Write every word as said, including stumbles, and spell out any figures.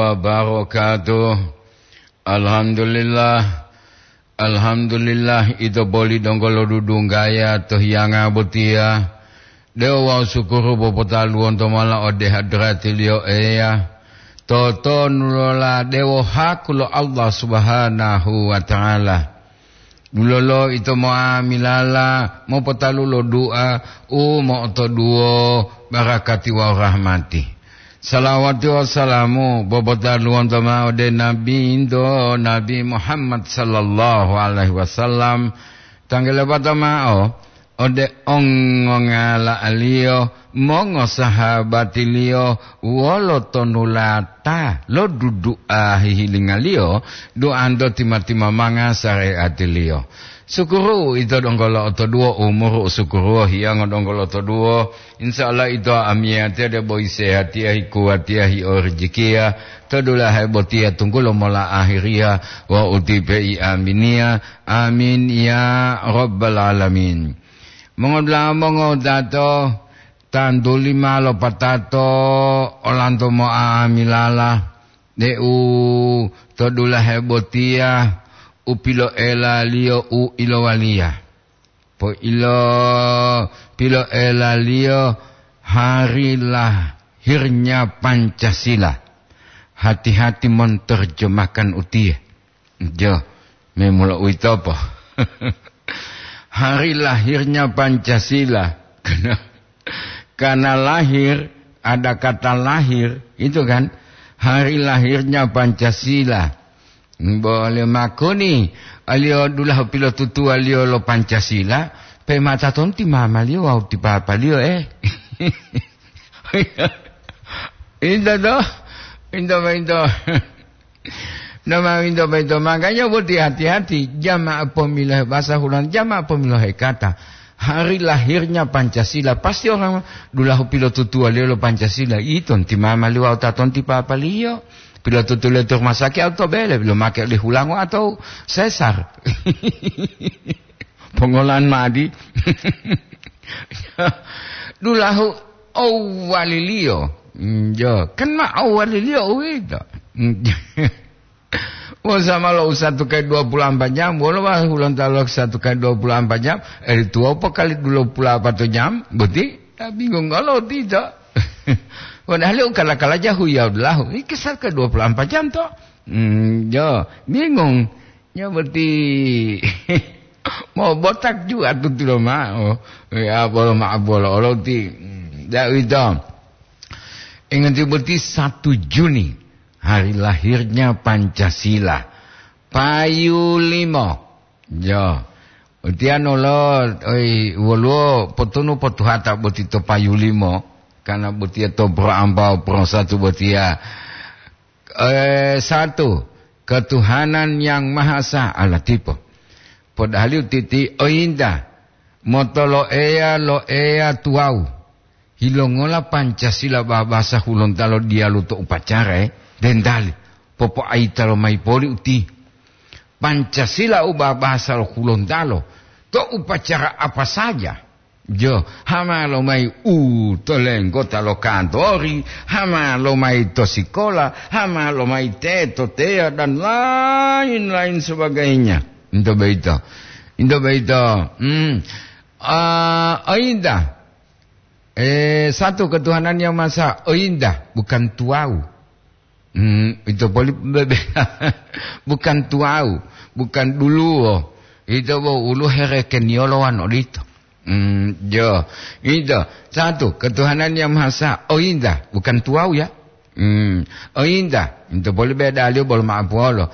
wabarakatuh. Alhamdulillah. Alhamdulillah, ito boli donggo lodudunggaya to hiyanga botiya. Dewo wawu sukuru popotaluwonto mola ode hadratiliyo Eya. Totonulola dewo haku lo Allah Subhanahu wa Ta'ala. Dulolo ito mo'amilala mopotalu lo du'a u mo'otoduwo barakati wawu rahmati. Salawati wawu salamu popotaluwonto ma'o ode Nabi into, Nabi Muhammad sallallahu alaihi wasallam, tanggelebata ma'o ode ongongala'aliyo, mongosahabatiliyo wolo tonulata lo dudu'a hihilingaliyo, duanto tima-timamanga sareatiliyo. Sukuru ito donggo lo'otoduwo umuru, sukuru hiyongo donggo lo'otoduwo. Insya Allah ito amiyatiya debo isehatiya, hikuwatiya, hiorijikiya, to dulahe botiya tunggulo mola ahiriya, wa utipe i aminiya. Amin ya rabbal alamin. Mongodula'a mongodato, tantuli ma lopatato olanto mo'amilala deu to dulahe botiya u piloelaliyo u ilowaliya. Po ilo piloelaliyo hari lahirnya Pancasila. Hati-hati monterjemahkan utiye. Jo, memula uwitopo. Hari lahirnya Pancasila. Karena, karena lahir, ada kata lahir, itu kan. Hari lahirnya Pancasila. Bole makoni, aliyo dulahu pilotutuwaliyo lo Pancasila, pe mata tonti mamaliyo wawu ti papaliyo, eh. Inta to, inta ma inta. Nama minto-minto. Makanya boti hati-hati, jama'a pemilu bahasa Hulang, jama'a pemilu kata. Hari lahirnya Pancasila, pasti orang dulahu pilotutuwaliyo lo Pancasila. Ito nti mama liwa utato nti papaliyo. Pilotutuliyo to rumah sakit atau bele, belum make oleh Hulango atau sesar. Pongolan madi. Dulahu awaliliyo. Mm, jo, kan ma awaliliyo uwito. Mm. Wong sama lo u satu kali dua puluh empat jam, wolo wa Hulontalo satu kali dua puluh empat jam, eri tuwopo kali dua puluh empat jam, boti, ta bingung olo tito. Padahal u kala-kala jahu ya lahu, iki satu kali dua puluh empat jam to. Mm, jo, bingung. Nya boti mau botak juga tutilo ma'o. Ya, bolo ma'o bolo olo ti. Mm, da wito. Ingati boti satu Juni, hari lahirnya Pancasila. Payu limo. Jo. Utiano lo, oi, woluwo potunu potuhata boti to payu limo. Karena botiya to pro ampau pro satu botiya. Eh, satu, ketuhanan yang maha esa, Allah tipo. Podahaliu titi, oyinta, motolo'eya lo Eya tuwawu. Hilongola Pancasila babasa Hulontalo diyalu to upacara, eh? Dendali, popo'ayita lomayi poli uti. Pancasila u babasa lo Hulontalo to upacara apa saja. Jo, hama lomayi u to lenggota lo kantori, hama lomayi to sikola, hama lomayi teto teya, dan lain-lain sebagainya. Into boyito. Into boyito. Hmm. Ah, oyinta. Eh, satu ketuhanan yang masa, oyinta, bukan tuwawu. Hmm, ito poli bebe. Bukan tuwawu, bukan duluwo. Ito bo ulu herekeniyolo wan odito. Hmm, jo. Ito, satu, ketuhanan yang maha esa, oyinta, bukan tuwawu ya. Hmm, oyinta, ito poli bedaliyo bolo ma'apuwolo.